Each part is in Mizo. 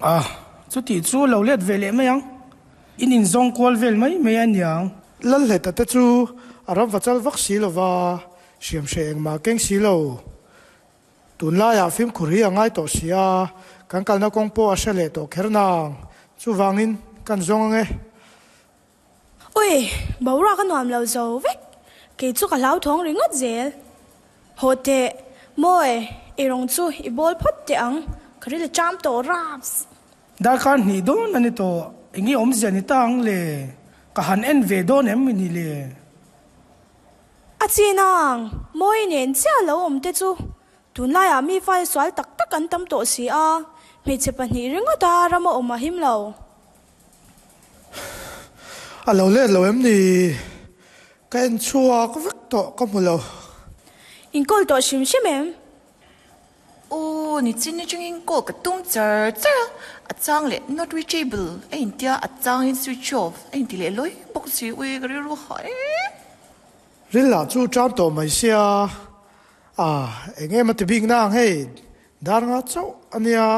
A, chuti chu lo let ve leh mai ang. In inzawng kual vel mai mai a niang. Lalhleta te chu a ram va chal vak si lova, hriam hreh engmah keng si lo. Tunlaiah fimkhur hi a ngai tawh si a, kan kalna kawng pawh a hre leh tawh kher nang. Chuvangin kan zawng ang e. Ui, boruak a nuam lo zo vek. Kei chu ka hlauthawng ringawt zel. Haw teh, Mawi, i rawng chu i bawl phawt teh ang, ka ril a cham tawh raps. Darkar hnih dawn a ni tawh, enge awmzia ni ta ang le? Ka han en ve dawn em ni le? A chin ang, Mawi nen chiah lo awm te chu tunlaiah mi fai sual tak tak an tam tawh si a, hmeichhe pahnih ringawta rama awm a him lo. A lo let lo em ni? Ka en chhuak vek tawh ka hmu lo. In call tawh hrim hrim em? Aw, nichin atangin call ka tum char char a, a chang leh not reachable a intia, a changin switch off a inti leh lawi bawk si, ui ka rilru hah e. Ril lah chu ṭam tawh mai sia, a eng em a ti bik nang hei, dar nga chauh a nia.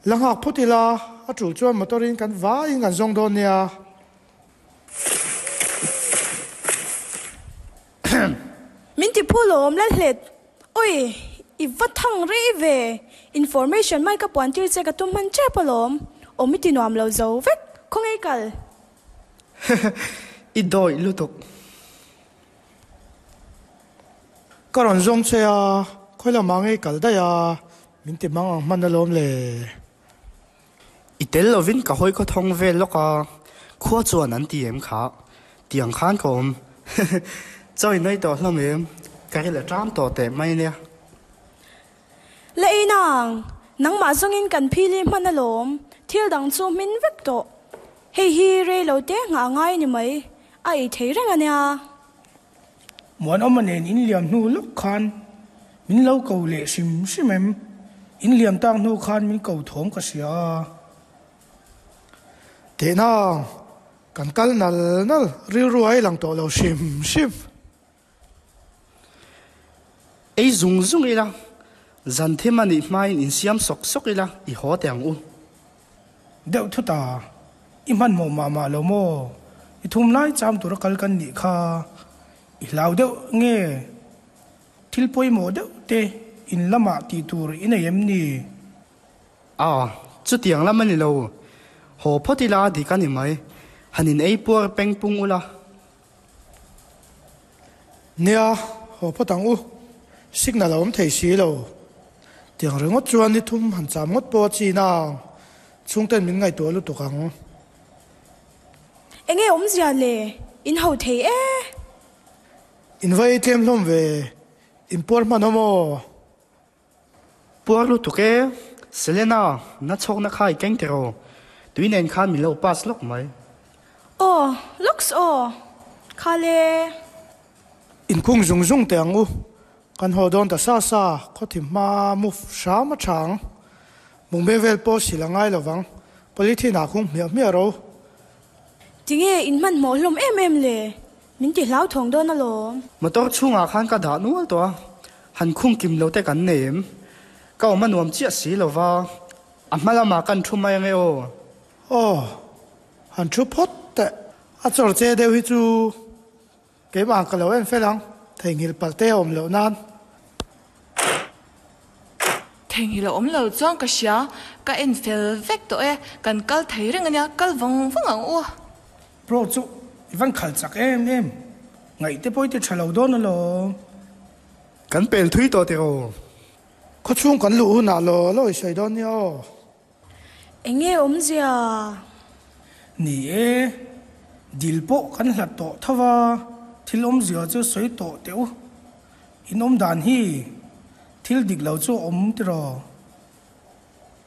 La nghak phawt ila, a tul chuan motor in kan vaiin kan zawng dawn nia. Min ti phu lawm Lalhlet. Oi, i va thang rei ve. Information mai ka puan tir che ka tum hman tep alawm. Awm i ti nuam lo zo vek. Khawnge i kal? I dawih lutuk. Ka rawn zawng che a, khawi lamah ngei kal daih a, min ti mang ang hman alawm le. I tel lovin ka hawi khaw thawng vel lawk a, khua chuan an ti em kha, tiang khan ka awm. Chaw i nei tawh hlawm em? Ka ril a ṭam tawh teh mai nia. La ei nang, nangmah zawngin kan phili hman alawm, thil dang chu hmin vek tawh. Hei hi rei lo te nghah ngai ni mai, a ei thei reng a nia. Muanawma nen in liam hnu lawk khan min lo ko leh hrim hrim em? In liam tak hnu khan min ko thawm ka hria a. Tehna, kan kal nal nal rilru a i lang tawh lo hrim hrim. Ei zung zung ila, zan thim a nih hmain insiam sawk sawk ila i haw teh ang u. Deuh thut a, i hmanhmawh mah mah lo maw? I thum lai cham tura kal kan nih kha i hlau deuh nge? Thil pawimawh deuh te in lamah tih tur i nei em ni? A, chutiang lam a ni lo. Haw phawt ila dik a ni mai. Han in ei puar peng pung ula. Nia, haw phawt ang u. Signal a awm thei si lo. Tiang ringawt chuan ni thum han cham ngawt pawh a chin a, chhungten min ngaihtuah lutuk ang. Enge awmzia le? In ho thei e. In va ei tlem hlawm ve. In puar hman awm aw. Puar lutuk e. Selena, na chhawkna kha i keng tiraw? Tui nen khan min lo pass lawk mai. Aw, lawks aw. Kha le. Inkhung zung zung teh ang u. Kan haw dawn ta sa sa, khawthim hma move hram a tha ang. Mungbe vel pawh sil a ngai lovang. Polythene ah khung hmiah hmiah ro. Tinge in hmanhmawh hlawm em em le? Min ti hlauthawng dawn alawm. Motor chhungah khan ka dah nual tawh a, han khung kim lo te kan nei em? Ka awm a nuam chiah si lo va, a hma lamah kan thu mai ange aw. Aw, han thu phawt teh. A chawr che deuh hi chu keimah ka lo en fel ang, theihnghilh palh te a awm loh nan. Theihnghilh a awm lo chuan ka hria, ka en fel vek tawh e, kan kal thei reng ania, kal vang vang ang u. Bro chu i van khal chak em em, ngaih te pawh i ti tha lo dawn alawm. Kan pel thui tawh tiraw? Khawchhung kan luh hunah law law i sawi dawn nia aw. Enge awmzia? Ni e, dil pawh kan hlat tawh tho va, thil awmzia chu sawi tawh teh u. In awm dan hi thil dik lo chu a awm tiraw?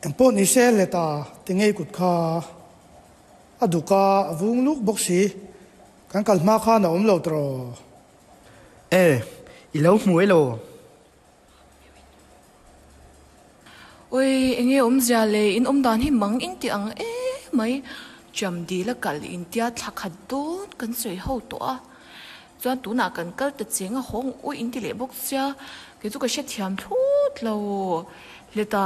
Engpawh ni se leta ti ngei kut kha a duk a, a vung luk bawk si. Kan kal hma khan a awm lo tiraw? E, i lo hmu elaw? Oi, enge awmzia le, in awm dan hi mang in ti ang e mai. Cham dil a kal intia thla khat dawn kan sawi ho tawh a, chuan tunah kan kal ta cheng a hawng ui inti leh bawk sia, kei chu ka hrethiam thlawt lo. Leta.